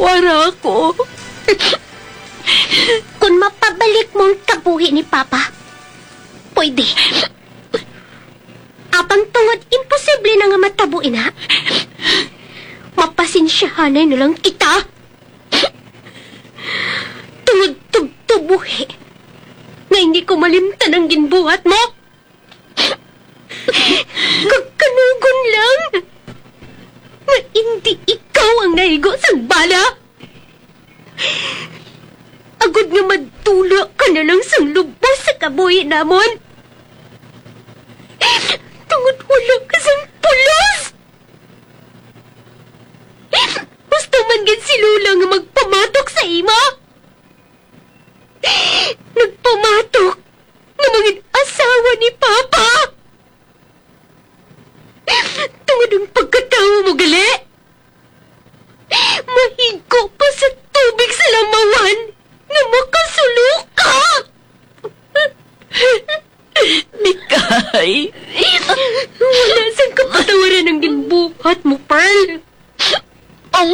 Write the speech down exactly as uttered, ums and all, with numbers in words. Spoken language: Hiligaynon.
Wara ako. Kung mapabalik mo ang kabuhi ni Papa, pwede. Apang tungod imposible na nga matabo ina, mapasensyahanay na lang kita. Tungod tubtob buhi nga hindi ko malimtan ang ginbuhat mo. Kag kanugon lang nga indi ikaw ang naigo sang bala. Agod nga madula ka na lang sang lubos sa kabuhi namon. Tungod wala ka sang pulos. Gusto man gid si Lola nga magpamatok sa imo. Nagpamatok nga mangin asawa ni Papa. Tungod ang pagkatawo mo gali, mahigo pa sa tubig sa lamawan nga makasulo ka. Mikay. Wala sang kapatawaran ang ginbuhat mo, Pearl. Ang